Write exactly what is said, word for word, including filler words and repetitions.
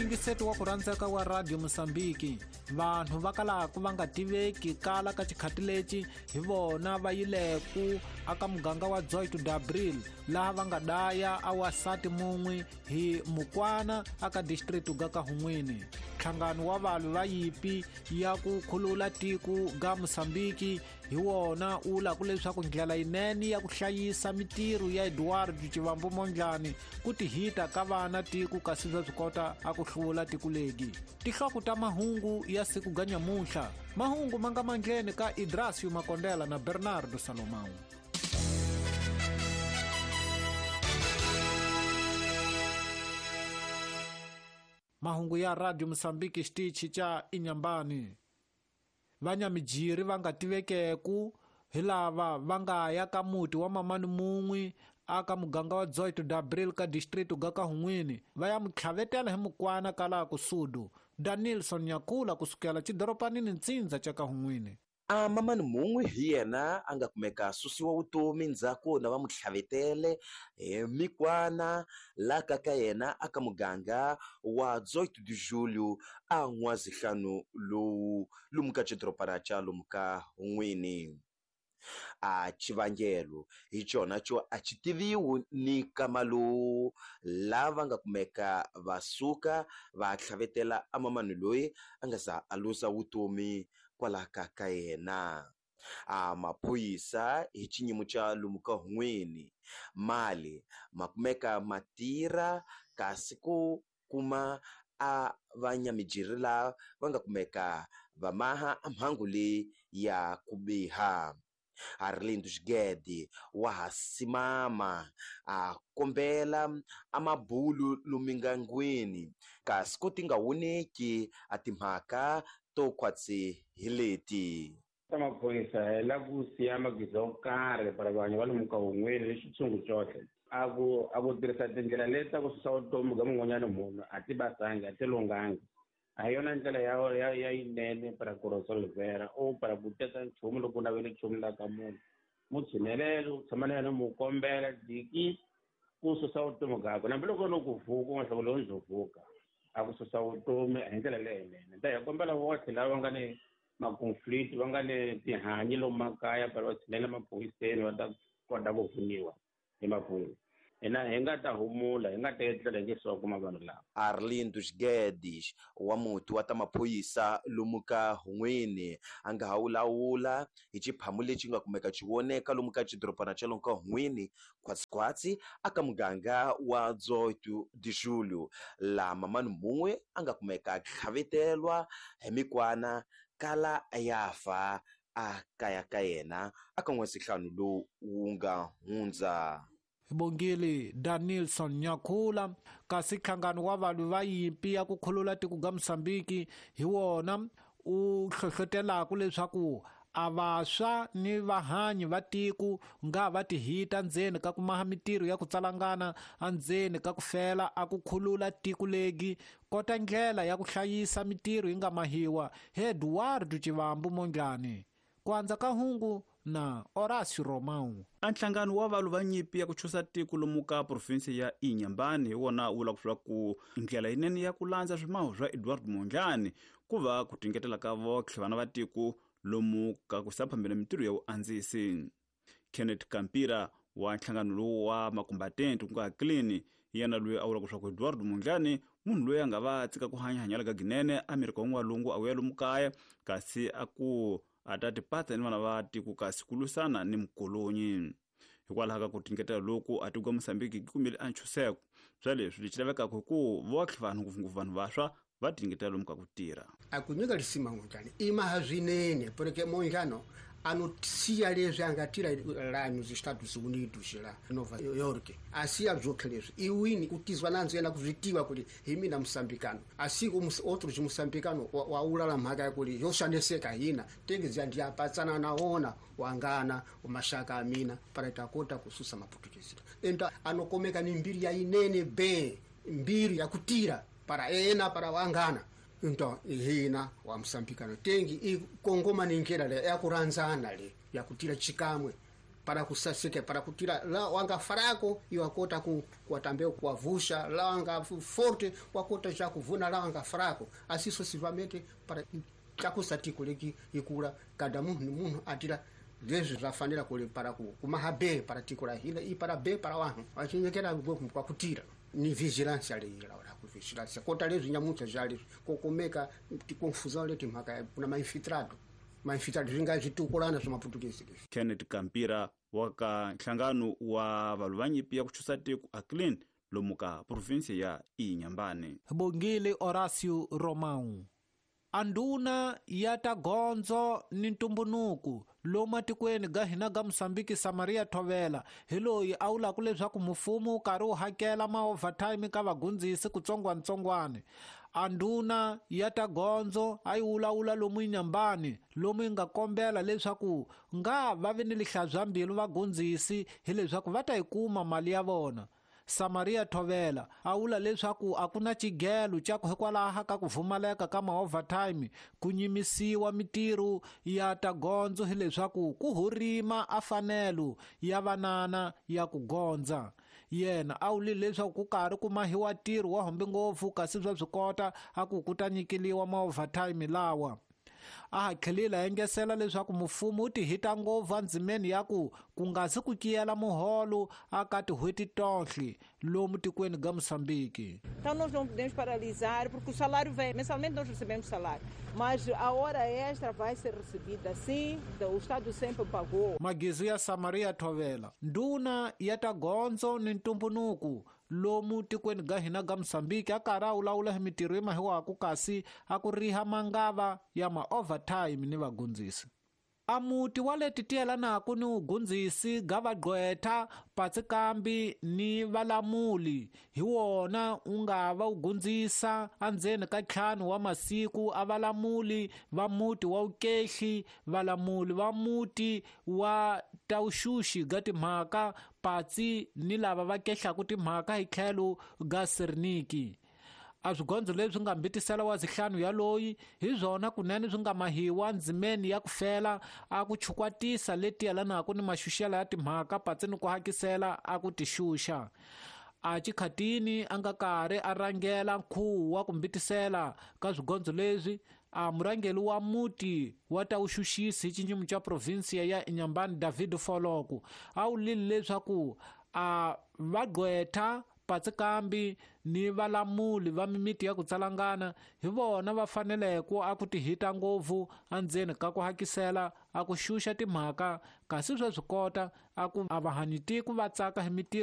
Muyingiseti wa ku rhandzeka wa Radio Mosambiki, vanhu va kalaku va nga tiveki kala ka xikhati lexi hi vona va yileku aka muganga wa dezoito de Abril, laha va nga daya a wasati mun'we hi mukwana aka district ga ka Hun'wini. Nhlangano wa valwi va yipi ya ku khulula tiko ga Mosambiki hi wona wu lava leswaku ndlela yinene ya ku hlayisa mitirho ya Eduardo Chivambo Mondlane ku tihita ka vana tiko kasi bya swi kota a ku hlula tiko legi. Tihloko ta mahungu ya siku ga nyamuntlha, mahungu ma nga mandleni ka Idrasio Makondela na Bernardo Salomão. Mahungu ya Radio Mosambiki xitichi xa Inhambane. Vanyamijiri va nga tivekeku hi lava va nga ya ka muti wa mamani mun'we aka muganga wa dezoito de Abril ka distrito ga ka Hun'wini va ya mutlhavetela hi mukwana kala ku Sudu. Danilson Nyakula kusukela xidoropanini ntsindza xa ka Hun'wini. A mamani mun'we hi yena a nga kumeka susiwa vutomi ndzhaku na va mutlhavetele hi mikwana la ka ka yena aka muganga wa dezoito de Julho a n'wazihlanu lowu lomu ka xidorobana xa lomu ka Hun'wini. A xivangelo hi xona xo a xi tiviwi ni kama lowu lava nga kumeka va suka va tlhavetela a mamani loyi a nga za a luza vutomi kwala ka ka yena. A maphorisa hi xinyimo xa lomu ka Hun'wini mali ma kumeka ma tirha kasi ku kuma a vanyamijiri lava va nga kumeka va maha a mhangu leyi ya ku biha. Arlindo Xigede wa ha simama a kombela a mabulu lumingangwini kasi ku ti nga woneki a timhaka to khwatsi hi leti. Ta maphorisa hi la ku siya magiza yo karhi para vanhu va lomu ka Hun'wini ni xitshungu xoxe. A ku a ku tirhisa tindlela leti ta ku susa vutomi bya mun'wanyana munhu a ti basangi a ti lunghangi. A hi yona ndlela ya ya ya yinene para ku resolvera o para ku teka nchumu loko u navele nchumu la ka munhu. Mu tshinelele u tshama na yena mu kombela diki ku susa vutomi byakwe hambiloko no ku vuka u nga hlawuli lowu ndzo vuka a ku susa vutomi hi ndlela leyinene. Ta hi kombela votlhe lava nga ni ma-conflict va nga ni tihanyi lomu makaya para va tshinela maphoriseni va ta kota ku pfuniwa hi maphorisa. Hina hi nga ta humula hi nga ta etlela hi nge se wa kuma vanhu lava. Arlindo Guedes wa muti wa ta maphorisa lomu ka Hun'wini a nga ha wulawula hi xiphamu lexi nga kumeka xi voneka lomu ka xidorobana xa lomu ka Hun'wini khwatsikhwatsi aka muganga wa dezoito de Julho laha mamani mun'we a nga kumeka tlhavetelwa hi mikwana kala ya fa a kaya ka yena aka n'wesihlanu lowu wu nga hundza. Bongile Danilson Nyakula. Kasi nhlangano wa valwi va yimpi ya ku khulula tiko ga Mosambiki hi wona u hlohlotelaka leswaku a vantshwa ni vahanyi va tiko nga va tihita ndzeni ka ku maha mitirho ya ku tsalangana endzeni ka ku fela a ku khulula tiko legi kota ndlela ya ku hlayisa mitirho yi nga mahiwa hi Eduardo Chivambo Mondlane. Ku andza ka hungu na Horácio Romão. A nhlangano wa valwi va nyimpi ya ku chusa tiko lomu ka provinsi ya Inhambane hi wona wu lava ku vula ku ndlela yinene ya ku landza swimaho swa Eduardo Mondlane ku va ku tingetela ka votlhe vana va tiko lomu ka ku saphambela mitirho ya vuandzisi. Kenneth Kampira wa nhlangano lowu wa makumbatente ku nga clean yena loyi a vulaka leswaku Eduardo Mondlane munhu loyi a nga va tshika ku hanya hanyela ka ginene Amerika wa n'walungu a vuya lomu kaya kasi a ku a ta tipatsa ni vana va tiko kasi ku lwisana ni mukolonyi. Hikwalaho ka ku tingetela loku a tiko Mosambiki yi kumile a ntshunxeko swa leswi lexi lavekaka hi ku votlhe vanhu ngopfungopfu vanhu vantshwa va tingetela lomu ka ku tirha. A ku nyika lisima Mondlane i maha swinene porque Mondlane anotia leswi a nga tira la nos Estados Unidos la Nova York asiya byotlhe leswi iwini ku tizwa nandzo yena ku swi tiva kuri hi mina musambikano asi outros musambikano wa ulala mhaka ya kuri yo xaniseka hina tengezi ndi apatsana naona wangana mashaka amina para takota kususa maputukezi enta anokomeka ni mbiri ya inene be mbiri ya kutira para ena para wangana into hina wa msambikano tengi ikongoma ni ngera le ya kuranzana le ya kutira chikamwe Para kusasike para kutira la wanga farako iwakota ku kuatambeu kuavusha la wanga forte wakota já kuvuna la wanga farako assim sucessivamente para chakusatiko leki ikula cada munhu munhu atira leswi zvafanira kuli para ku kumaha be para tiko la hina i para be para vanhu vachinyekera kwa kutira ni vigilância leyi laura ku vigilância kota leswi nyamuntlha ja leswi kokomeka tikonfusão leti mhaka kuna mainfiltrado mainfiltrado swi nga switukulana swa maputukezi leswi. Kenneth Kampira wa ka nhlangano wa valwi va nyimpi ya ku chusa tiko Aclin lomu ka provinsi ya Inhambane. Bongile Horacio Romão. Anduna ya ta gondzo ni ntumbunuku lomu atikweni ga hina ga Mosambiki Samaria Thovela hi loyi a vulaka leswaku mfumo wu karhi wu hakela ma-overtime ka vagundzisi kutsongwantsongwana. Anduna ya ta gondzo a yi vulavula lomu Inhambane lomu yi nga kombela leswaku nga va vi ni lihlazwambilu vagundzisi hileswaku va ta yi kuma mali ya vona. Samaria Thovela a vula leswaku a ku na xigelo xa ku hikwalaho ka ku pfumaleka ka ma-overtime ku nyimisiwa mitirho ya ta gondzo hileswaku ku hurima a fanelo ya vanana ya ku gondza. Yena a vule leswaku ku karhi ku mahiwa ntirho wa hombe ngopfu kasi swa swi kota a ku ku ta nyikeliwa ma-overtime lawa. A ha tlhelile a engesela leswaku mfumo wu tihita ngopfu endzimeni ya ku ku nga si ku kiyela muholo aka tin'hweti tonhle lomu tikweni ga Moçambique. Então nós não podemos paralisar porque o salário vem, mensalmente nós recebemos salário, mas a hora extra vai ser recebida sim, o Estado sempre pagou. Magizu ya Samaria Thovela, nduna ya ta gondzo ni ntumbunuku lomu tikweni ga hina ga Mosambiki a karhi a vulavula hi mitirho yi mahiwaku kasi a ku riha mangava ya ma-overtime ni vagundzisi. A muti wa leti tiyelanaku ni vugundzisi ga vagqwetha patsikambi ni valamuli hi wona wu nga va wu gundzisa endzeni ka ntlhanu wa masiku a valamuli va muti wa Vukehli, valamuli va muti wa Tauxuxi ga timhaka patsi ni lava va kehlaku timhaka hi tlhelo ga Serniki. A swigondzo leswi nga mbitisela wa zihlanu ya loyi hi swona kunene swi nga mahiwa ndzimeni ya ku fela a ku chukwatisa leti yelanaka ni maxuxela ya timhaka patsi ni ku hakisela a ku tixuxa. A xikhatini a nga karhi a rhangela nkhuvo wa ku mbitisela ka swigondzo leswi a murhangeri wa muti wa Tauxuxisi hi xinyimu xa provinsiya ya Inhambane David Foloko a vulile leswaku a vagqwetha patsikambi ni valamuli va mimiti ya ku tsalangana hi vona va faneleke a ku tihita ngopfu endzeni ka ku hakisela a ku xuxa timhaka kasi swa swi kota a ku a vahanyi tiko va tsaka hi mitirho.